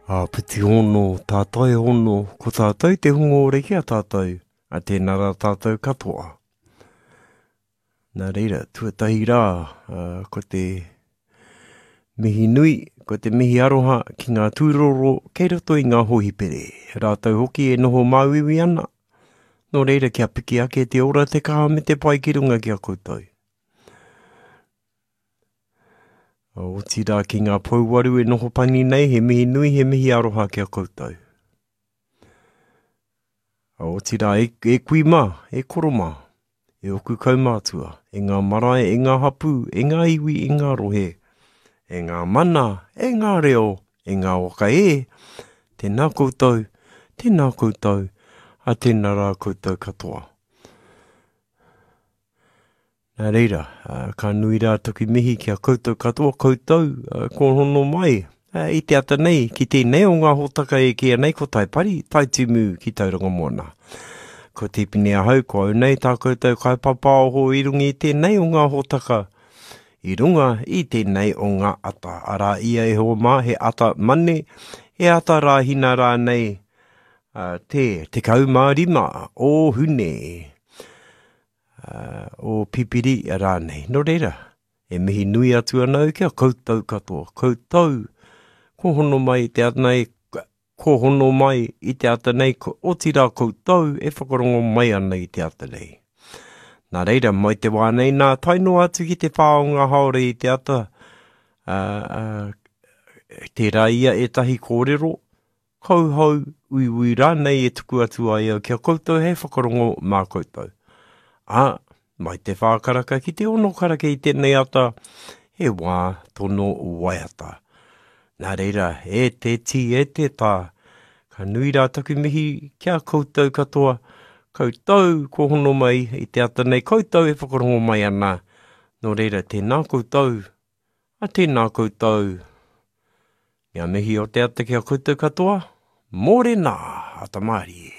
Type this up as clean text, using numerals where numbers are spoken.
Āpiti hono, tātai hono, ko tātou te hunga ora ki a tātou, a tēnā rā tātou katoa. Nā reira, tuatahi rā, ko te mihi nui, ko te mihi aroha ki ngā tūroro kei roto i ngā hōhipere. Rātou hoki e noho māuiui ana, nō reira kia piki ake te ora, te kaha me te pai ki runga ki a koutou. Otirā ki ngā pouwaru e noho pani nei, he mihi nui, he mihi aroha ki a koutou. Otirā, e, e kui mā, e koro mā, e oku kaumātua, e ngā marae, e ngā hapū, e ngā iwi, e ngā rohe, e ngā mana, e ngā reo, e ngā waka e, tēnā koutou, tēnā koutou, a tēnā rā koutou katoa. Nā reira, ka nui rā taku mihi ki a koutou katoa, koutou kua hono mai i te ata nei ki tēnei o ngā hōtaka e kīia nei ko Taipari, Taitimu ki Tauranga Moana. Ko Tipene ahau, ko au nei tā koutou kaipapaoho i runga i tēnei o ngā hōtaka, i runga i tēnei o ngā ata. Arā ia e hoa mā, he ata mane, he ata rāhina rānei, te 15 o Hune. o Pipiri rānei. Nō reira, e mihi nui atu ana au ki a koutou katoa. Koutou, ko hono mai i te ata nei, ko hono mai i te ata nei, ko otirā koutou e whakarongo mai ana i te ata nei. Nā reira, mai te wā nei nā, tae noa atu ki te whā o ngā haore i te ata, ā, ā, tērā ia ētahi kōrero, Kauhau, uiui rānei e tuku atu ai au ki a koutou hei whakarongo mā koutou. Ā, mai te whā karaka ki te ono karaka i tēnei ata, he wā tono waiata. Nā reira, e te tī, e te tā, ka nui rā taku mihi ki a koutou katoa, koutou kua hono mai i te ata nei, koutou e whakarongo mai ana, nō reira, tēnā koutou, A tēnā koutou. Ngā mihi o te ata ki a koutou katoa. Mōrena, ata mārie.